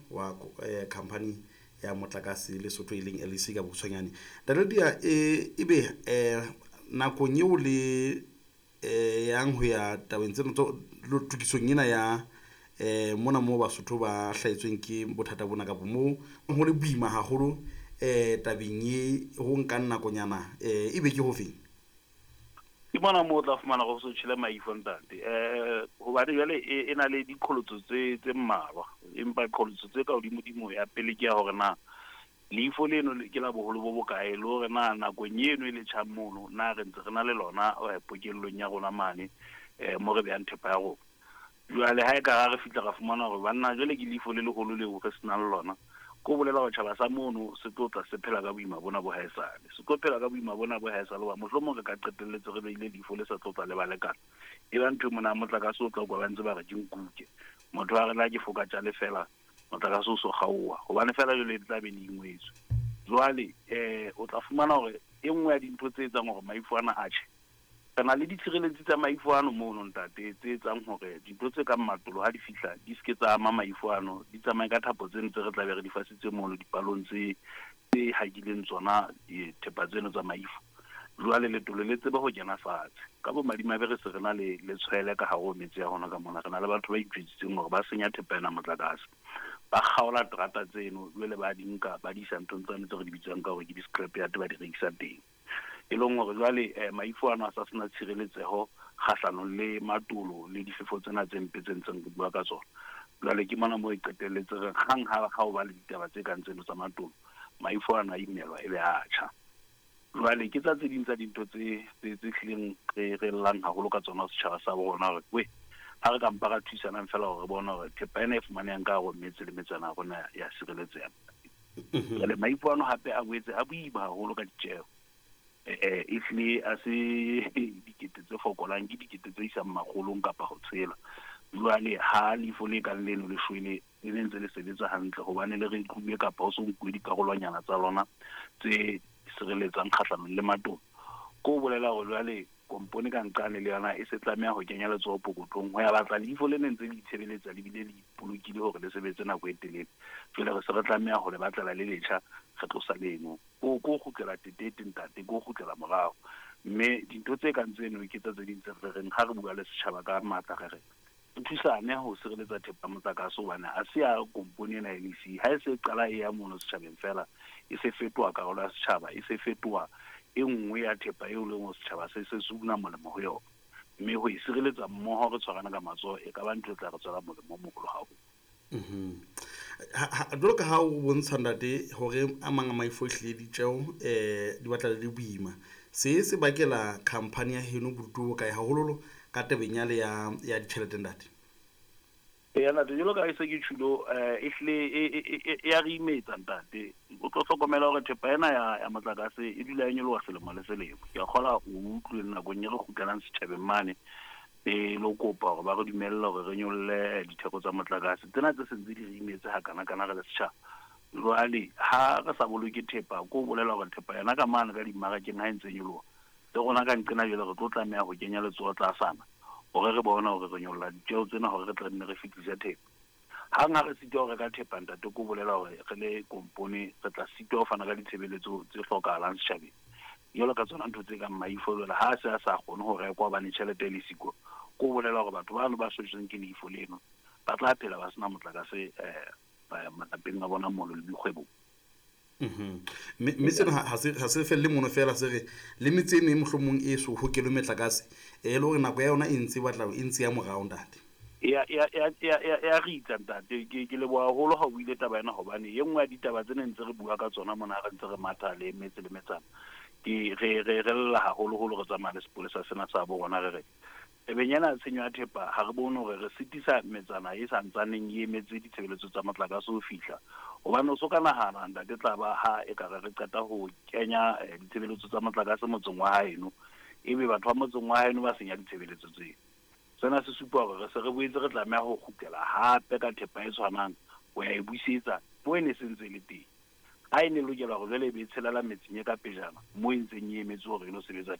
Wa company ya motlakase Lesotho, e leng LEC ka bokgutshwanyane. Ntate Ledia, ebe nakong eo le yang ho ya tabeng tsena tokisong ena ya mona moo Basotho ba hlahetsweng ke bothata bona, kapa moo ho le boima haholo tabeng e ho nkang nakonyana, ebe ke hofeng? Ke mona moo o tla fumana go so tjhele maifo, ntate, hobane jwale e na le diqholotso tse mmalwa, empa qholotso tse ka hodimo-dimo ya pele ke ya hore na leifo leno ke la boholo bo bokae, le hore na nakong eno e le tjhang mono na re ntse re na le lona pokellong ya rona mane mo re behang thepa ya rona. Jwale ha e ka ra re fihla ra fumana hore banna jwale ke leifo le leholo leo re senang lona, ko bolela hore tjhaba sa mono se tlo tla se phela ka boima bona bo haesale, se tlo phela ka boima bona bo haesale, hoba mohlomong re ka qetelletse re beile leifo le sa tlo tla le ba lekana. E ba ntho e mona motlakase o tla kwa ba ntse ba re ke nkuke, motho a re la ke foka tjale fela motlakase o so kgaoha, hobane fela jwale e tla be le ingwetswe. Jwale o tla fumana hore e nngwe ya dintho tse etsang hore maifo ana a tjhe, re na le ditshireletsi tsa maifo ano mono, ntate, tse etsang hore dintho tse kang matolo ha di fihla di seke tsa ama maifo ano, di tsamaye ka thapo tseno tse re tlabe re di fasitse mono dipalong tse hakileng tsona dithepa tseno tsa maifo. Jwale letolo le tsebe ho kena fatshe. Ka bomadimabe re se re na le letshwele ka hare ho metse ya rona ka mona, re na le batho ba itjwetsitseng hore ba senya thepa ena motlakase, ba kgaola terata tseno, jwale ba di nka ba di isa nthong tsane tse re di bitsang ka hore ke di-scrap yard, ba di rekisa teng. E leng hore jwale maifo ano a sa sena tshireletseho kgahlanong le matolo le difefo tsena tse mpe tse ntseng re bua ka tsona. Jwale ke mona moo e qetelletse re hang ha o ba le ditaba tse kang tseno tsa matolo, maifo ano a imelwa ebe a tjha. Jwale ke tsa tse ding tsa dintho tse hlileng re llang haholo ka tsona setjhaba sa bo rona, hore we ha re ka mpa ra thusanang fela hore re bone hore thepa ena e fumanehang ka hare ho metse le metsana ya rona ya sireletseha. Jwale maifo ano hape a boetse a boima haholo ka ditjeho. Ehlile a se dikete tse fokolang, ke dikete tse isang makgolong kapa ho tshela. Jwale ha leifo le kang leno le shwele, le ne ntse le sebetsa hantle hobane le rekuwe kapa ho so nkuwe dikarolwanyana tsa lona tse sireletsang kgahlanong le matolo, ko bolela hore jwale kompone ka nqane le yona e se tlameha ho kenya letsoho pokothong ho ya batla leifo le ne ntse le itshebeletsa le bile le ipolokile hore le sebetse nako e telele. Jwale re se re tlameha ho le batlela le letjha, re tlosa leno. Ko kgutlela tetete, ntate, ko kgutlela morao. Mme dintho tse kang tseno ke tsa tse ding tse re reng ha re bua le setjhaba ka matla, re re re thusane ho sireletsa thepa motlakase, hobane ha se ya kompone ena ya LEC. Ha e se qala e ya mono setjhabeng fela, e se fetoha karolo ya setjhaba, e se fetoha e nngwe ya thepa eo leng hore setjhaba se se una molemo ho yona. Mme ho e sireletsa mmoho re tshwarana ka matsoho e ka ba ntho e tla re tswela molemo o moholo haholo. Jwalo ka ha o bontsha, ntate, hore a mang a maifo ehlile ditjeho di batla le boima, se bakela company ya heno bodutu bo bokae, haholoholo ka tabeng yale ya ditjhelete, ntate? Eya ntate, jwalo ka ha e se ke tjhulo, ehlile e ya re imetsa, ntate. O tlo hlokomela hore thepa ena ya motlakase e dula e nyoloha selemo le selemo. Ke a kgola o utlwe nakong e re kgutlelang setjhabeng mane e lo kopa hore ba re dumelle hore re nyolle ditheko tsa motlakase tsena tse sentse di re imetse hakana-kana re le setjhaba. Jwale ha re sa boloke thepa, ko bolela hore thepa yona ka mane ka dimmarakeng ha e ntse nyoloha, le rona ka nqena jwale re tlo tlameha ho kenya letsoho tlasana hore re bone hore re nyolla ditjeho tsena hore re tla nne re fetise thepa. Hang ha re sitwa ho reka thepa, ntate, ko bolela hore re le kompone re tla sitwa ho fana ka ditshebeletso tse hlokahalang setjhabeng, jwalo ka tsona ntho tse kang maifo. Jwale ha se a sa kgone ho rekwa hobane tjhelete e le siko, ko bolela hore batho bano ba shwetsweng ke leifo leno ba tla phela ba sena motlakase malapeng a bona mono le dikgwebong. Mme sena ha se felle mono fela, se re le metse e meng mohlomong e so hokelwe metlakase, e le hore nako ya yona e ntse e batla e ntse ya morao, ntate. Ya ritsa, ntate. Ke leboha haholo ha o buile taba ena, hobane e nngwe ya ditaba tse neng ntse re bua ka tsona mona re ntse re matha le metse le metsana, ke re lla haholoholo re tsamaya le sepolesa sena sa bo rona, re re tabeng ena tshenyo ya thepa ha re bone hore re sitisa metsana e sa ntsaneng e emetse ditshebeletso tsa motlakase ho fihla. Hobane o so ka nahana, ntate, tla ba ha e ka re qeta ho kenya ditshebeletso tsa motlakase motseng wa haeno, ebe batho ba motseng wa haeno ba senya ditshebeletso tseo. Sena se supa hore re se re boetse re tlameha ho kgutlela hape ka thepa e tshwanang ho ya e busetsa moo e ne se ntse e le teng. Ha e ne lokela hore jwale e be e tshelela metseng e ka pejana moo e ntseng e emetse hore e lo sebetsa teng.